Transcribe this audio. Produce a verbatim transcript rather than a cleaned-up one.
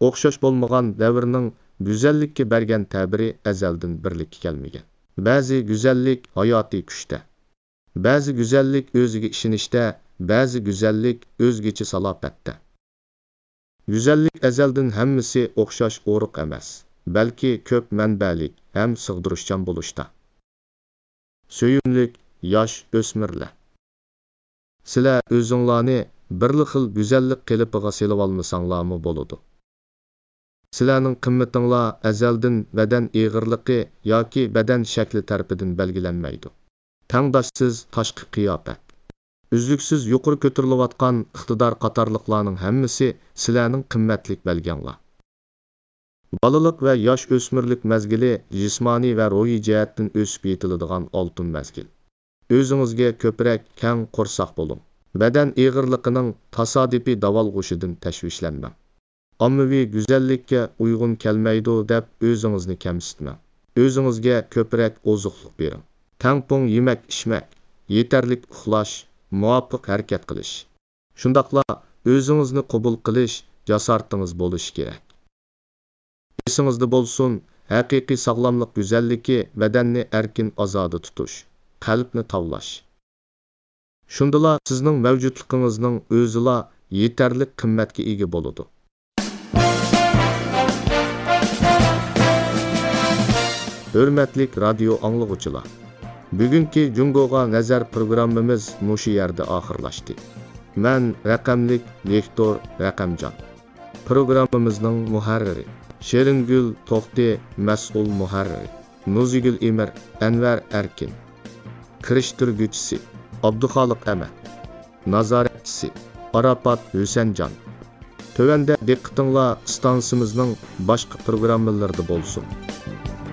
ئوخشاش بولمىغان دەۋرنىڭ گۈزەللىككە بەرگەن تەبىرى ئەزەلدىن بىرلىككە كەلمىگەن. بەزى گۈزەللىك ھاياتىي كۈچتە. بەزى گۈزەللىك ئۆزىگە ئىشىنىشتە، بەزى گۈزەللىك ئۆزگىچە سالاپەتتە. گۈزەللىك ئەزەلدىن ھەممىسى ئوخشاش ئورۇق ئەمەس، بەلكى كۆپ مەنبەلىك ھەم سىغدۇرۇشچان بولۇشتا. سۆيۈملۈك ياش ئۆسمۈرلەر! سىلەر ئۆزۈڭلارنى بىرلا خىل گۈزەللىك قېلىپىغا سېلىۋالمىساڭلارمۇ بولىدۇ. سىلەرنىڭ قىممىتىڭلار ئەزەلدىن بەدەن ئېغىرلىقى ياكى بەدەن شەكلى تەرىپىدىن بەلگىلەنمەيدۇ. تەڭداشسىز تاشقى قىياپەت، ئۈزلۈكسىز يۇقىرى كۆتۈرۈلۈۋاتقان ئىقتىدار قاتارلىقلارنىڭ ھەممىسى سىلەرنىڭ قىممەتلىك بەلگەڭلار. بالىلىق ۋە ياش ئۆسمۈرلۈك مەزگىلى جىسمانىي ۋە روھىي جەھەتتىن ئۆسۈپ يېتىلىدىغان ئالتۇن مەزگىل. ئۆزىڭىزگە كۆپرەك كەڭ قورساق بولۇڭ. بەدەن ئېغىرلىقىنىڭ تاسادىپىي داۋالغۇشىدىن تەشۋىشلەنمەڭ. ئاممىۋى گۈزەللىككە ئۇيغۇن كەلمەيدۇ دەپ ئۆزىڭىزنى كەمسىتمەڭ. ئۆزىڭىزگە كۆپرەك ئوزۇقلۇق بېرىڭ. تەڭپۇڭ يېمەك-ئىچمەك، يېتەرلىك ئۇخلاش، مۇۋاپىق ھەرىكەت قىلىش. شۇنداقلا ئۆزىڭىزنى قوبۇل قىلىش جاسارىتىڭىز بولۇشى كېرەك. ئېسىڭىزدە بولسۇن، ھەقىقىي ساغلاملىق گۈزەللىكى بەدەننى ئەركىن ئازادە تۇتۇش، قەلبنى تاۋلاش. شۇندىلا سىزنىڭ مەۋجۇتلۇقىڭىزنىڭ ئۆزىلا يېتەرلىك قىممەتكە ئىگە بولىدۇ. ھۆرمەتلىك رادىيو ئاڭلىغۇچىلار! بۈگۈنكى جۇڭگوغا نەزەر پروگراممىمىز مۇشۇ يەردە ئاخىرلاشتى. مەن رەقەملىك ۋىكتور رەقەمجان. پروگراممىمىزنىڭ مۇھەررىرى شېرىنگۈل توختى، مەسئۇل مۇھەررىرى نۇزىگۈل ئىمىر، ئەنۋەر ئەركىن. كىرىشتۈرگۈچىسى ئابدۇخالىق ئەمەت. نازارەتچىسى ئاراپات ھۈسەنجان. تۆۋەندە دىققىتىڭلار ئىستانسىمىزنىڭ باشقا پروگراممىلىرىدا بولسۇن.